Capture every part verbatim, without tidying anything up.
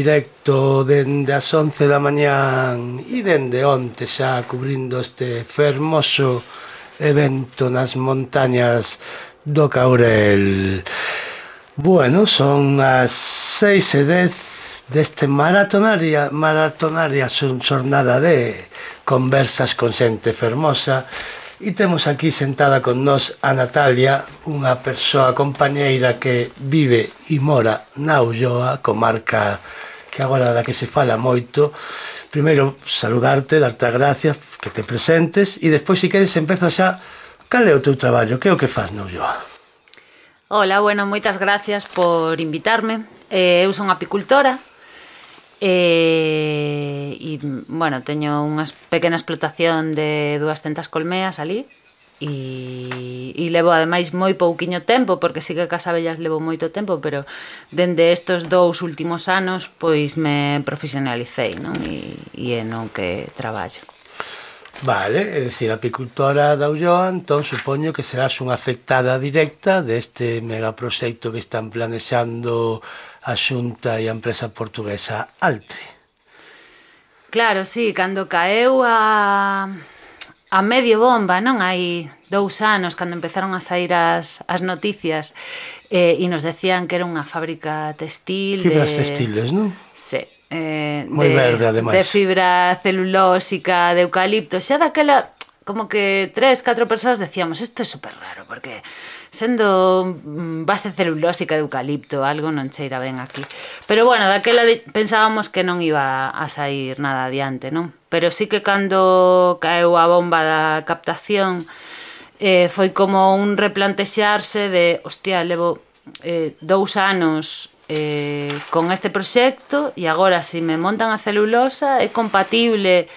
directo dende as once da mañán e dende onte xa cubrindo este fermoso evento nas montañas do Caurel. Bueno, son as seis e dez deste maratonaria maratonaria xornada de conversas con xente fermosa. E temos aquí sentada con nós a Natalia, unha persoa compañeira que vive e mora na Ulloa, comarca que agora da que se fala moito. Primeiro, saludarte, darte as gracias, que te presentes, e despois, se queres, empeza xa. Cal é o teu traballo? Que é o que faz na Ulloa? Hola, bueno, moitas gracias por invitarme. Eh, eu son apicultora. E, e, bueno, teño unha pequena explotación de duascentas colmeas ali e, e levo ademais moi pouquiño tempo, porque sí que cas abellas levo moito tempo, pero dende estes dous últimos anos pois me profesionalicei, non? E, e é non que traballo. Vale, é dicir, apicultora da Ulloa, entón supoño que serás unha afectada directa deste megaproxecto que están planexando a Xunta e a empresa portuguesa Altri. Claro, sí, cando caeu a, a medio bomba, non? Hai dous anos, cando empezaron a sair as, as noticias eh, e nos decían que era unha fábrica textil. Fibras de... textiles, non? Sí. Eh, moi de, verde, ademais. De fibra celulósica, de eucalipto. Xa daquela, como que tres, catro persoas decíamos, isto é super raro, porque sendo base celulósica de eucalipto, algo non cheira ben aquí. Pero bueno, daquela pensábamos que non iba a sair nada adiante, non? Pero sí que cando caeu a bomba da captación eh, foi como un replantexarse de, hostia, levo eh, dous anos Eh, con este proxecto e agora se me montan a celulosa é compatible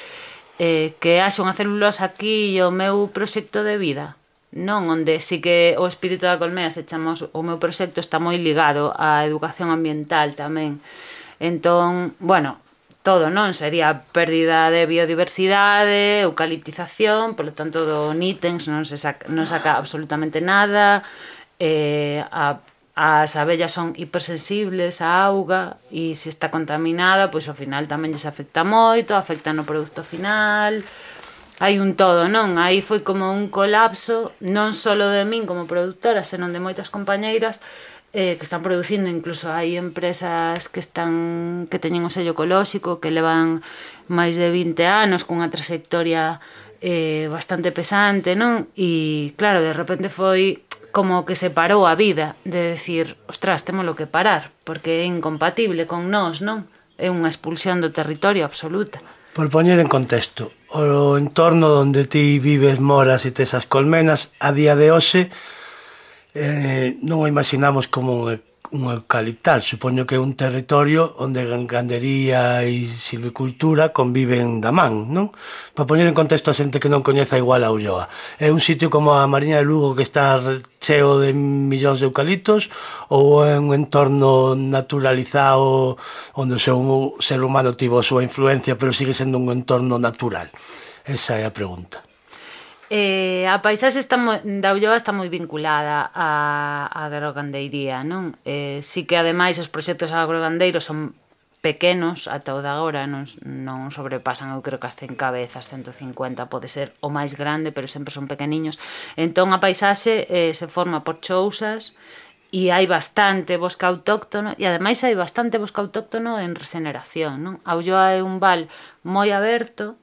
eh, que haxa unha celulosa aquí e o meu proxecto de vida, non? Onde sí que o espírito da colmea, se chamamos, o meu proxecto está moi ligado á educación ambiental tamén. Entón, bueno, todo, non? Sería pérdida de biodiversidade, eucaliptización, polo tanto do nítens non se saca, non saca absolutamente nada, eh, a as abellas son hipersensibles á auga e se está contaminada, pois ao final tamén lles afecta moito, afecta no produto final. Hai un todo, non? Aí foi como un colapso, non só de min como produtora, senón de moitas compañeiras eh, que están producindo, incluso hai empresas que están que teñen o sello ecolóxico, que levan máis de vinte anos cunha trayectoria eh, bastante pesante, non? E claro, de repente foi como que se parou a vida de decir, ostras, témolo que parar, porque é incompatible con nós, non? É unha expulsión do territorio absoluta. Por poñer en contexto, o entorno onde ti vives, moras e tes as colmenas, a día de hoxe eh, non o imaginamos como un, un eucaliptal. Supoño que é un territorio onde gandería e silvicultura conviven da man, non? Para poñer en contexto a xente que non coñeza igual a Ulloa. É un sitio como a Mariña de Lugo que está cheo de millóns de eucaliptos, ou é un entorno naturalizado onde o ser humano tivo a súa influencia, pero sigue sendo un entorno natural? Esa é a pregunta. Eh, a paisaxe está moi, da Ulloa está moi vinculada á agrogandeiría, non? Eh, sí que ademais os proxectos agrogandeiros son pequenos ata o de agora, non, non sobrepasan, eu creo que as cen cabezas, ciento cincuenta pode ser o máis grande, pero sempre son pequeniños. Entón a paisaxe eh, se forma por chousas e hai bastante bosque autóctono e ademais hai bastante bosque autóctono en regeneración, non? A Ulloa é un val moi aberto.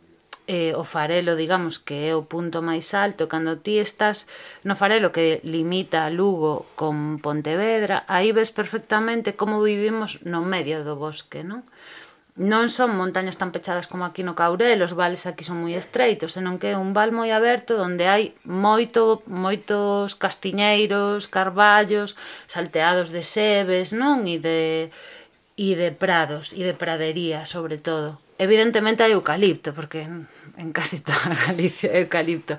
Eh, o farelo, digamos, que é o punto máis alto, cando ti estás no farelo que limita Lugo con Pontevedra, aí ves perfectamente como vivimos no medio do bosque, non? Non son montañas tan pechadas como aquí no Caurel, os vales aquí son moi estreitos, senón que é un val moi aberto onde hai moito, moitos castiñeiros, carballos, salteados de sebes, non? E de, e de prados, e de pradería, sobre todo. Evidentemente hai eucalipto, porque en casi toda Galicia é eucalipto,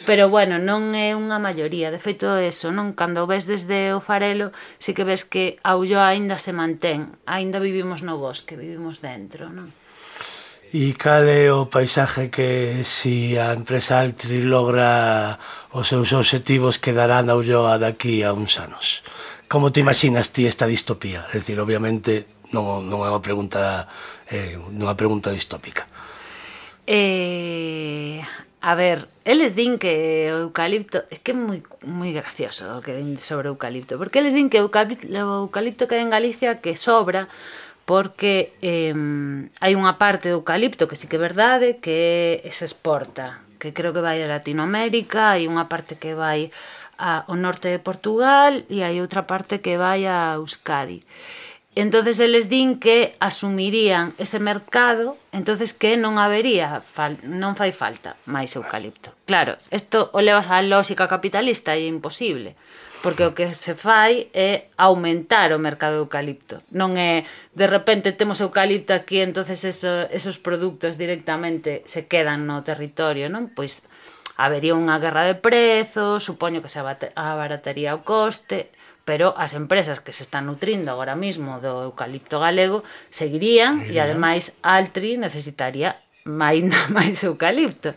pero bueno, non é unha maioría. De feito, eso, non? Cando ves desde o farelo, sí que ves que a Ulloa aínda se mantén, aínda vivimos no bosque, vivimos dentro, non? E cal é o paisaje que, si a empresa Altri logra os seus obxectivos, quedará na Ulloa daqui a uns anos? Como te imaginas ti esta distopía? É dicir, obviamente, non, non é unha pregunta eh, non é unha pregunta distópica. Eh, a ver, eles din que o eucalipto, é que é moi, moi gracioso o que din sobre o eucalipto, porque eles din que o eucalipto, o eucalipto que hai en Galicia que sobra porque eh, hai unha parte do eucalipto que sí que é verdade que se exporta, que creo que vai a Latinoamérica, hai unha parte que vai ao norte de Portugal e hai outra parte que vai a Euskadi. Entonces eles din que asumirían ese mercado, entonces que non habería, fal, non fai falta máis eucalipto. Claro, isto o levas á lógica capitalista e é imposible, porque o que se fai é aumentar o mercado de eucalipto. Non é, de repente temos eucalipto aquí, entonces eso, esos produtos directamente se quedan no territorio, non? Pois habería unha guerra de prezos, supoño que se abarataría o coste, pero as empresas que se están nutrindo agora mismo do eucalipto galego seguirían, e ademais Altri necesitaría ainda máis eucalipto.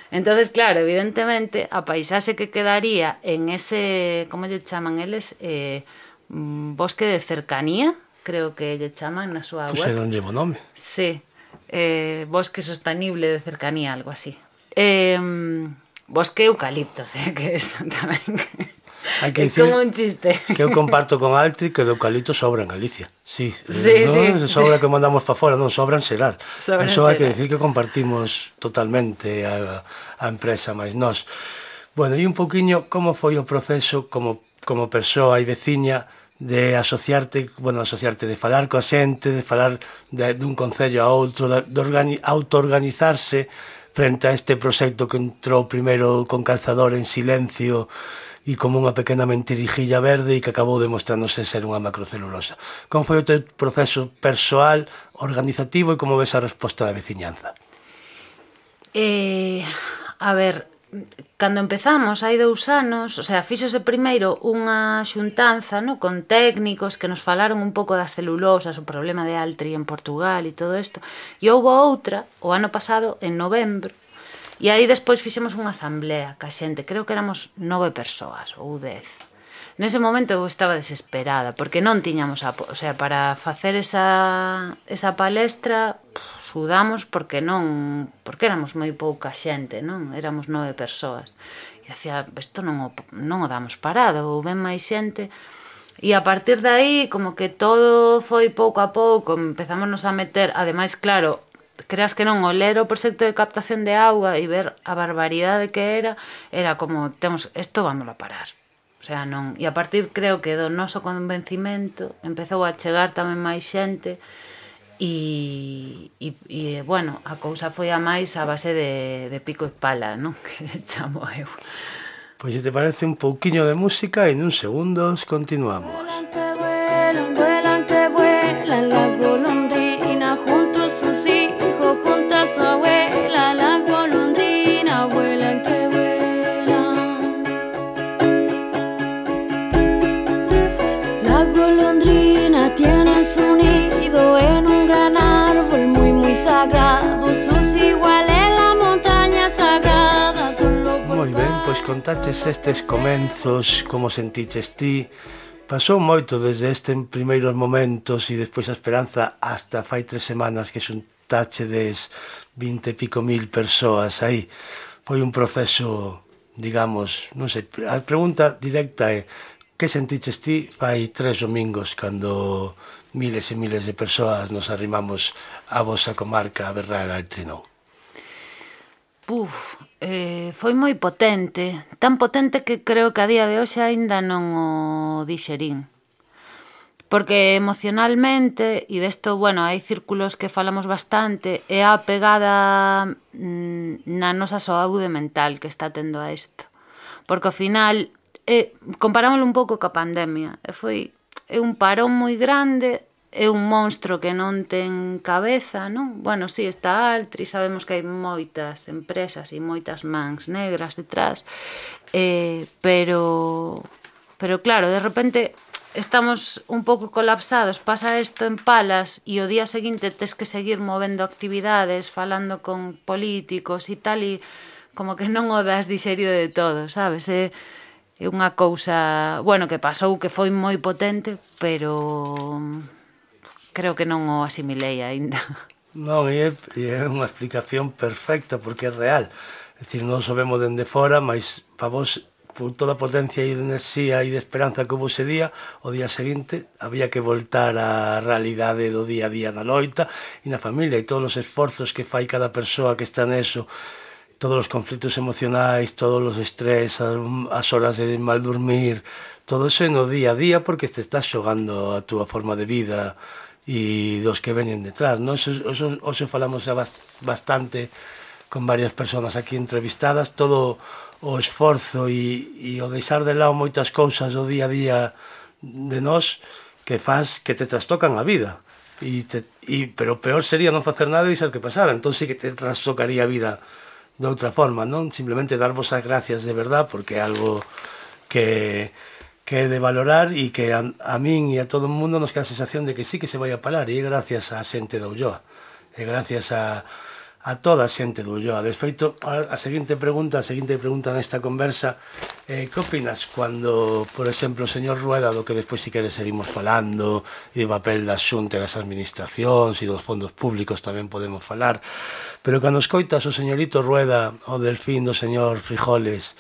Entonces, claro, evidentemente a paisaxe que quedaría en ese, como lle chaman eles, eh, bosque de cercanía, creo que lle chaman na súa web. Pois non llevo nome. Sí, eh, bosque sostenible de cercanía, algo así. Eh, bosque eucaliptos, eh, que isto tamén... Hai que dicir como un chiste. Que eu comparto con Altri que de eucalipto sobra en Galicia. Sí, sí, non sí, sobra sí. que mandamos para fora, non sobran xerar. Sobran Eso hai xerar. que dicir que compartimos totalmente a, a empresa, máis nós. Bueno, e un poquinho como foi o proceso como, como persoa e veciña de asociarte, bueno, asociarte, de falar coa xente, de falar de, dun concello a outro, de, de organi, autoorganizarse frente a este proxecto que entrou primeiro con calzador en silencio e como unha pequena mentirijilla verde e que acabou demostrándose ser unha macrocelulosa. Como foi o teu proceso persoal, organizativo e como ves a resposta da veciñanza? Eh, a ver, cando empezamos hai dous anos, o sea, fíxose primeiro unha xuntanza, no, con técnicos que nos falaron un pouco das celulosas, o problema de Altri en Portugal e todo isto, e houve outra o ano pasado en novembro. E aí despois fixemos unha asamblea ca xente, creo que éramos nove persoas ou dez. Nese momento eu estaba desesperada, porque non tiñamos, a, o sea, para facer esa, esa palestra pff, sudamos porque non, porque éramos moi pouca xente, non? Éramos nove persoas. E decía, isto non o, non o damos parado, ou ven máis xente. E a partir de aí, como que todo foi pouco a pouco, empezamos a meter, ademais, claro, creas que non, o ler o proxecto de captación de auga e ver a barbaridade que era, era como, temos, isto vámoslo a parar. O sea, non, e a partir, creo que do noso convencimento empezou a chegar tamén máis xente e, e, e bueno, a cousa foi a máis a base de, de pico e pala, non? Que chamo eu. Pois se te parece un pouquiño de música e nun segundos continuamos. Vuelan que vuelan, vuelan que vuelan la golondrina junto a sus hijos, junto a su abuela, la golondrina vuelan que vuelan. La golondrina tiene su nido en un gran árbol muy muy sagrado, sus iguales la montaña sagrada son los volcanes. Moi ben, pois contaches estes comenzos, como sentiches ti. Pasou moito desde estes primeiros momentos e despois a esperanza hasta fai tres semanas que xuntachedes vinte e pico mil persoas aí. Foi un proceso, digamos, non sei, a pregunta directa é que sentiches ti fai tres domingos cando miles e miles de persoas nos arrimamos a vosa comarca a berrar Altri non? Puf, eh, foi moi potente, tan potente que creo que a día de hoxe aínda non o dixerín. Porque emocionalmente, e desto, bueno, hai círculos que falamos bastante, é a pegada mm, na nosa saúde mental que está tendo a isto. Porque ao final, eh, comparámoslo un pouco ca pandemia, e foi é un parón moi grande, é un monstro que non ten cabeza, non? Bueno, si, sí, está Altri, sabemos que hai moitas empresas e moitas mans negras detrás, eh, pero, pero claro, de repente estamos un pouco colapsados, pasa isto en Palas e o día seguinte tes que seguir movendo actividades, falando con políticos e tal, e como que non o das diserio de todo, sabes? É, é unha cousa, bueno, que pasou, que foi moi potente, pero creo que non o asimilei aínda. Non, e é, é unha explicación perfecta porque é real. É dicir, non sabemos dende fora, mas para vos, por toda a potencia e de enerxía e de esperanza que houve ese día, o día seguinte había que voltar á realidade do día a día na loita e na familia, e todos os esforzos que fai cada persoa que está neso, todos os conflitos emocionais, todos os estrés, as horas de mal dormir, todo eso no día a día porque te estás xogando a túa forma de vida e dos que veñen detrás, non? Eso, eso, eso falamos xa bastante con varias persoas aquí entrevistadas, todo o esforzo e, e o deixar de lado moitas cousas do día a día de nós que faz que te trastocan a vida. E te, e, pero peor sería non facer nada e deixar que pasara, entón sí que te trastocaría a vida de outra forma, non? Simplemente darvos as gracias de verdad porque é algo que... que é de valorar e que a, a min e a todo o mundo nos queda a sensación de que sí que se vai a parar e é gracias á xente de Ulloa é gracias a, a toda a xente de Ulloa. De feito, a, a seguinte pregunta a seguinte pregunta nesta conversa eh, que opinas cando, por exemplo, o señor Rueda, do que despois si queres seguimos falando, e o papel da xunta das administracións e dos fondos públicos tamén podemos falar, pero cando escoitas o señorito Rueda o Delfín do señor Frijoles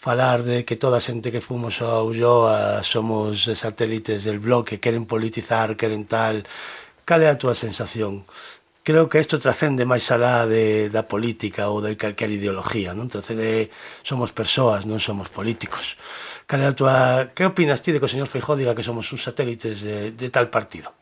falar de que toda a xente que fomos a Ulloa somos satélites del bloque, queren politizar, queren tal... Cal é a túa sensación? Creo que isto trascende máis alá de, da política ou de calquera ideología, non? Trascende, somos persoas, non somos políticos. Cal é a túa... Que opinas ti de que o señor Feijóo diga que somos uns satélites de, de tal partido?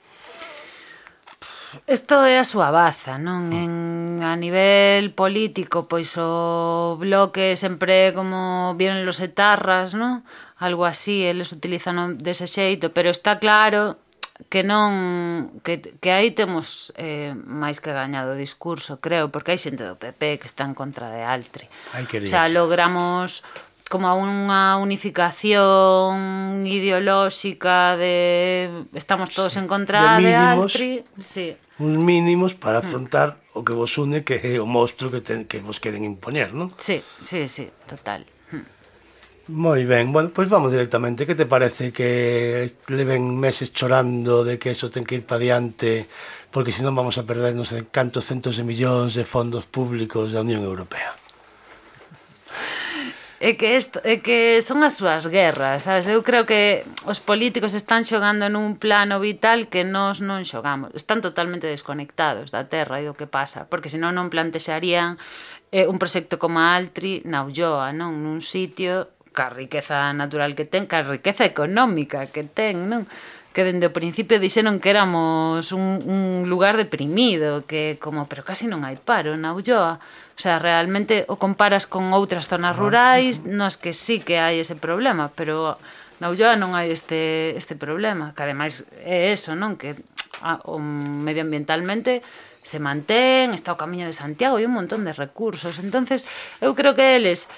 Isto é a súa baza, non? En, a nivel político, pois o bloque sempre como vienen los etarras, non? Algo así, eles utilizan dese xeito, pero está claro que non que, que aí temos eh, máis que gañado o discurso, creo, porque hai xente do P P que está en contra de Altri. O sea, logramos como unha unificación ideolóxica de estamos todos en contra de, de Altri, sí. Uns mínimos para afrontar mm. o que vos une, que é o monstro que, ten, que vos queren impoñer, non? Sí, sí, sí, total. Mm. Moi ben, bueno, pois pues vamos directamente. Que te parece que leven meses chorando de que eso ten que ir para diante porque senón vamos a perdernos en cantos centos de millóns de fondos públicos da Unión Europea? É que, esto, é que son as súas guerras, sabes? Eu creo que os políticos están xogando nun plano vital que nós non xogamos. Están totalmente desconectados da terra e do que pasa, porque senón non plantexarían eh, un proxecto como Altri na Ulloa, non? Nun sitio ca riqueza natural que ten, ca riqueza económica que ten, non? Que dende o principio dixeron que éramos un, un lugar deprimido, que como, pero casi non hai paro na Ulloa. O sea, realmente o comparas con outras zonas rurais, nos que sí que hai ese problema, pero na Ulloa non hai este, este problema, que ademais é eso, non? Que a, o, medioambientalmente se mantén, está o Camiño de Santiago e un montón de recursos. Entonces, eu creo que eles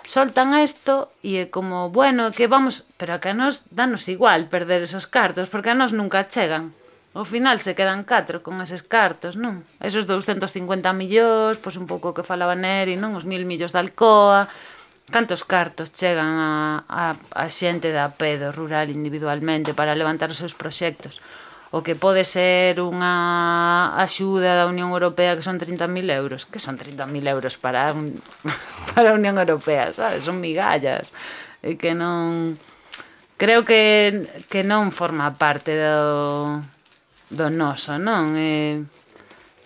soltan isto e é como, bueno, que vamos, pero a que a nos danos igual perder esos cartos, porque a nos nunca chegan. Ao final se quedan catro con eses cartos, non? Esos douscentos cincuenta millóns, pois un pouco que falaba Neri, non? Os mil millóns de Alcoa. Cantos cartos chegan a, a, a xente da P E D rural individualmente para levantar os seus proxectos? O que pode ser unha axuda da Unión Europea que son trinta mil euros. Que son trinta mil euros para, un, para a Unión Europea, sabes? Son migallas. E que non... Creo que, que non forma parte do... do noso, non? Eh,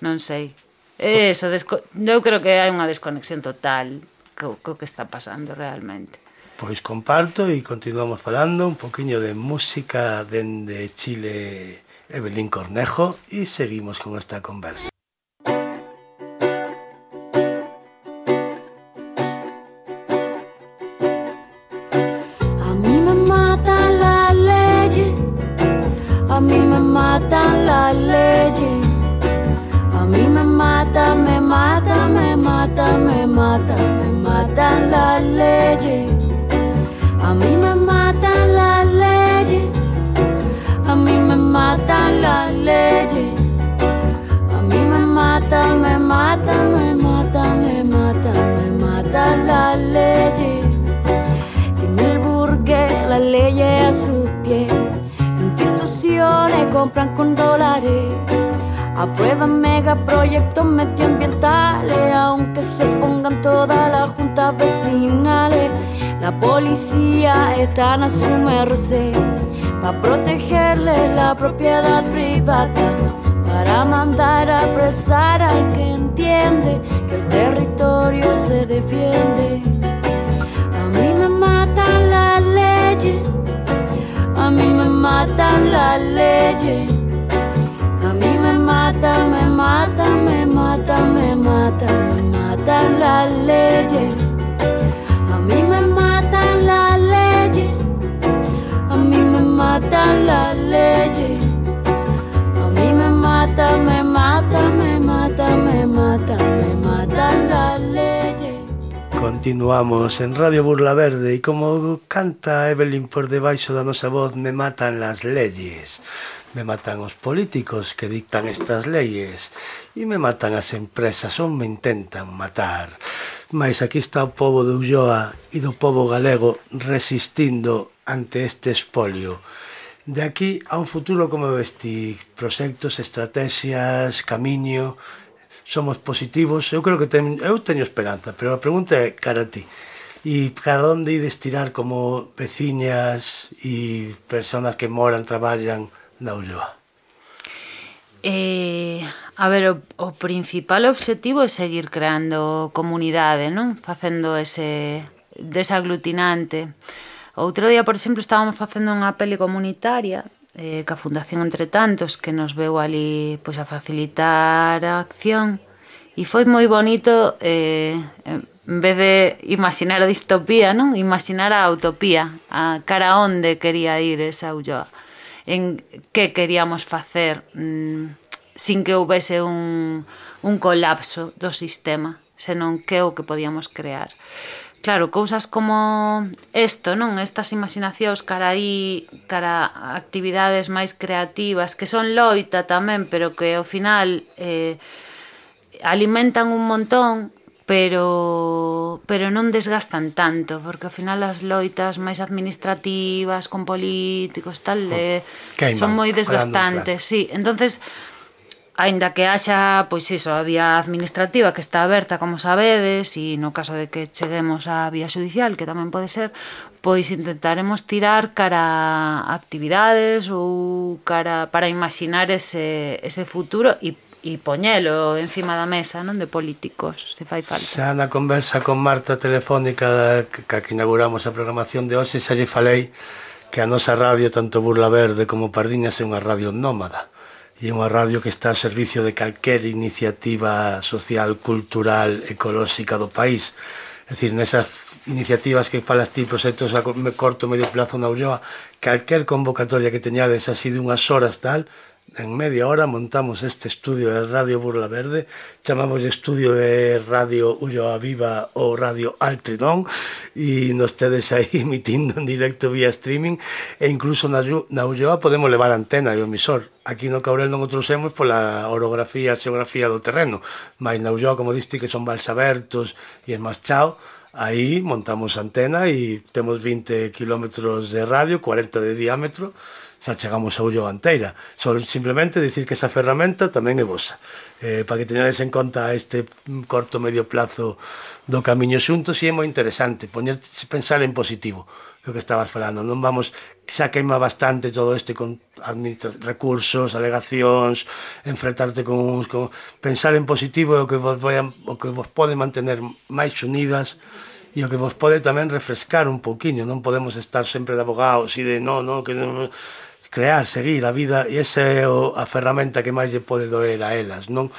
non sei. É eso, desco... eu creo que hai unha desconexión total co, co que está pasando realmente. Pois comparto e continuamos falando un poquinho de música dende Chile, Evelyn Cornejo, e seguimos con esta conversa. A mí me matan las leyes, a mí me matan las leyes, a mí me mata, me mata, me mata, me mata, me matan las leyes, a mí me matan las leyes, a mí me matan las leyes, a mí me mata, me mata, me mata, me mata, me matan las leyes. Tiene el burgués las leyes a sus pies, instituciones compran con dólares. Aprueban megaproyectos medioambientales, aunque se pongan todas las juntas vecinales. La policía está a su merced para protegerle la propiedad privada, para mandar a apresar al que entiende que el territorio se defiende. A mí me matan las leyes, a mí me matan las leyes. A mí me matan, me matan, me matan, me matan, me matan las leyes. A mí me matan las leyes, a mí me matan las leyes. A mí me matan, me matan, me matan, me matan, me matan las leyes. Continuamos en Radio Burla Verde e como canta Evelyn por debaixo da nosa voz, me matan las leyes. Me matan os políticos que dictan estas leyes e me matan as empresas ou me intentan matar. Mais aquí está o pobo de Ulloa e do pobo galego resistindo ante este espolio. De aquí a un futuro como este, proxectos, estrategias, camiño, somos positivos. Eu creo que ten, eu teño esperanza, pero a pregunta é cara a ti. E cara onde ides tirar como veciñas e personas que moran, traballan na Ulloa? Eh, a ver, o, o principal obxectivo é seguir creando comunidade, non? Facendo ese desaglutinante. Outro día, por exemplo, estábamos facendo unha peli comunitaria eh, ca Fundación Entre Tantos, que nos veu ali pois, a facilitar a acción, e foi moi bonito eh, en vez de imaginar a distopía, non? Imaginar a utopía, a cara onde quería ir esa Ulloa, en que queríamos facer mmm, sin que houvese un, un colapso do sistema, senón que o que podíamos crear. Claro, cousas como isto, non? Estas imaginacións cara aí, cara a actividades máis creativas, que son loita tamén, pero que ao final eh, alimentan un montón, pero pero non desgastan tanto, porque ao final as loitas máis administrativas con políticos tal eh, son moi desgastantes, sí. Entonces, aínda que haxa, pois iso, a vía administrativa que está aberta, como sabedes, e no caso de que cheguemos á vía judicial, que tamén pode ser, pois intentaremos tirar cara a actividades ou cara para imaginar ese, ese futuro e e poñelo encima da mesa, non, de políticos, se fai falta. Xa na conversa con Marta telefónica que, que inauguramos a programación de hoxe, xa lle falei que a nosa radio, tanto Burla Verde como Pardiñas, é unha radio nómada e é unha radio que está a servicio de calquer iniciativa social, cultural, ecolóxica do país. É dicir, nesas iniciativas que falas ti, proxectos a corto medio plazo na Ulloa, calquer convocatoria que teñades así de unhas horas tal, en media hora montamos este estudio de Radio Burla Verde, chamamos estudio de Radio Ulloa Viva ou Radio Altrinón, e nos tedes aí emitindo en directo vía streaming, e incluso na, na Ulloa podemos levar antena e o emisor. Aquí no Caurel non o trouxemos pola orografía, xeografía do terreno, mas na Ulloa, como diste, que son vals abertos e es máis chao, aí montamos antena e temos vinte kilómetros de radio, cuarenta de diámetro, xa chegamos a Ulloa Anteira. Só simplemente dicir que esa ferramenta tamén é vosa. Eh, para que teñades en conta este corto medio plazo do camiño xuntos, e é moi interesante poñer, pensar en positivo, que o que estabas falando. Non vamos, xa queima bastante todo este con recursos, alegacións, enfrentarte con uns, con... pensar en positivo é o que vos, vai, o que vos pode mantener máis unidas, e o que vos pode tamén refrescar un pouquiño. Non podemos estar sempre de abogados e de no, no, que non... crear, seguir a vida, e esa é o, a ferramenta que máis lle pode doer a elas, non?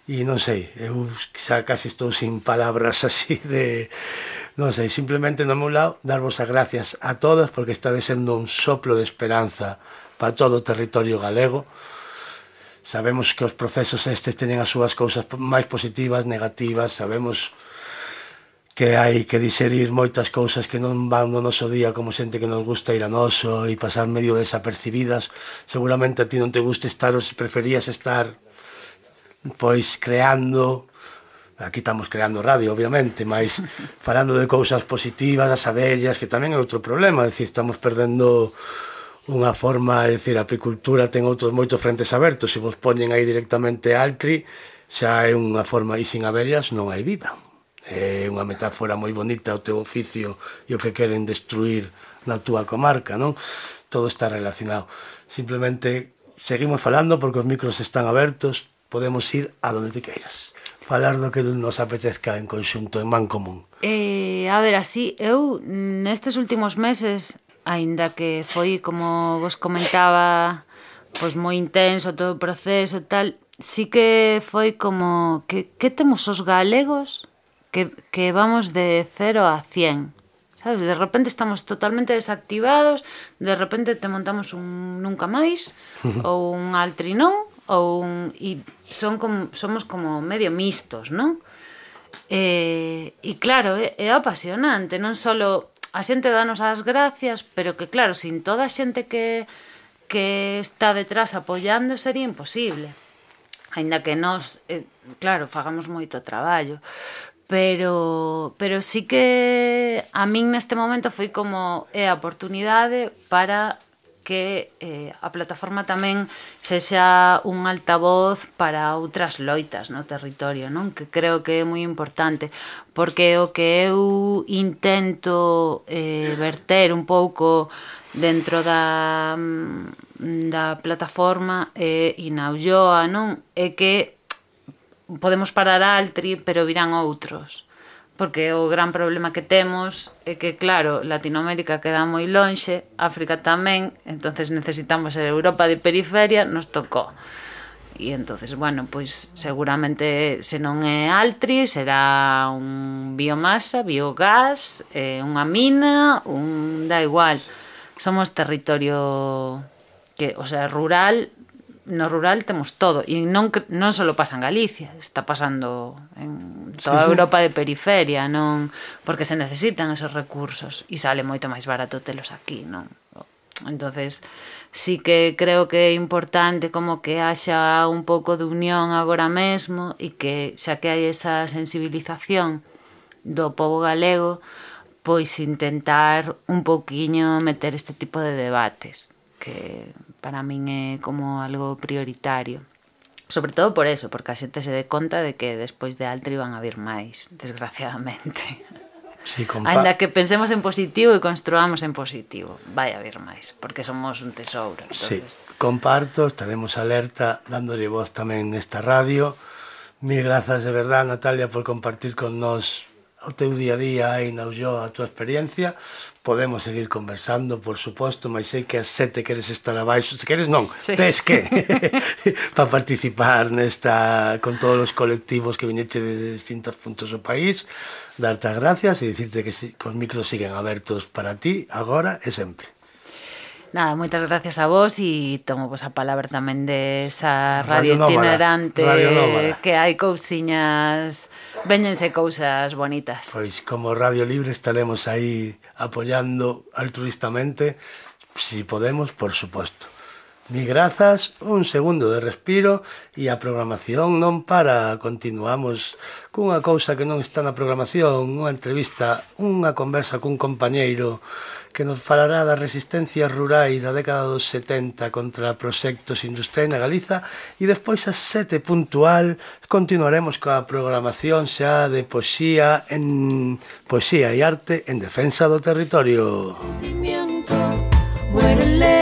E non sei, eu xa casi estou sin palabras así de... non sei, simplemente no meu lado darvos as gracias a todos porque está sendo un soplo de esperanza para todo o territorio galego. Sabemos que os procesos estes teñen as súas cousas máis positivas, negativas, sabemos que hai que digerir moitas cousas que non van no noso día como xente que nos gusta ir a noso e pasar medio desapercibidas. Seguramente a ti non te gusta estar, ou se preferías estar pois creando, aquí estamos creando radio obviamente, mas falando de cousas positivas, das abellas, que tamén é outro problema, é dicir, estamos perdendo unha forma, é dicir, a apicultura ten outros moitos frentes abertos, se vos poñen aí directamente altri, xa é unha forma, e sin abellas non hai vida. É unha metáfora moi bonita o teu oficio e o que queren destruir na túa comarca, non? Todo está relacionado. Simplemente seguimos falando porque os micros están abertos, podemos ir a donde te queiras. Falar do que nos apetezca en conxunto, en man común. Eh, a ver, así, eu nestes últimos meses, aínda que foi, como vos comentaba, pois moi intenso todo o proceso e tal, sí que foi como que, que temos os galegos que, que vamos de cero a cien, sabes? De repente estamos totalmente desactivados, de repente te montamos un nunca máis ou un altrinón ou un, e son como, somos como medio mixtos, non? E, e claro, é, é apasionante, non só a xente danos as gracias, pero que claro, sin toda a xente que, que está detrás apoiando sería imposible. Ainda que nós, eh, claro, fagamos moito traballo, pero, pero sí que a min neste momento foi como é a oportunidade para que eh, a plataforma tamén sexa un altavoz para outras loitas no territorio, non? Que creo que é moi importante, porque o que eu intento eh, verter un pouco dentro da, da plataforma eh, e na Ulloa, non? É que podemos parar a altri, pero virán outros. Porque o gran problema que temos é que, claro, Latinoamérica queda moi lonxe, África tamén, entonces necesitamos ser Europa de periferia, nos tocou. E entonces, bueno, pois seguramente se non é altri, será un biomasa, biogás, eh, unha mina, un da igual. Somos territorio que, o sea, rural. No rural temos todo, e non, non só pasa en Galicia, está pasando en toda a Europa de periferia, non, porque se necesitan esos recursos e sale moito máis barato telos aquí, non? Entonces, sí que creo que é importante como que haxa un pouco de unión agora mesmo e que xa que hai esa sensibilización do pobo galego, pois intentar un pouquiño meter este tipo de debates, que para min é como algo prioritario. Sobre todo por eso, porque a xente se dé conta de que despois de altri van a vir máis, desgraciadamente. Sí, compa... Ainda que pensemos en positivo e construamos en positivo, vai a vir máis, porque somos un tesouro. Entonces... Sí, comparto, estaremos alerta, dándole voz tamén nesta radio. Mil grazas de verdad, Natalia, por compartir con nós o teu día a día aí na Ulloa, a tua experiencia. Podemos seguir conversando, por suposto, mas sei que as sete queres estar abaixo, se queres non, sí. Tes que para participar nesta, con todos os colectivos que viñeche de distintos puntos do país, darte as gracias e dicirte que, que os micros siguen abertos para ti, agora e sempre. Nada, moitas gracias a vos e tomo vos a palabra tamén de esa radio, radio itinerante nómada, que hai cousiñas, véñense cousas bonitas. Pois como Radio Libre estaremos aí apoiando altruistamente, si podemos, por suposto. Mil grazas, un segundo de respiro e a programación non para, continuamos cunha cousa que non está na programación, unha entrevista, unha conversa cun compañeiro que nos falará das resistencias rurais da década dos setenta contra proxectos industriais na Galiza e despois ás sete puntual continuaremos coa programación xa de poesía en poesía e arte en defensa do territorio. Muérele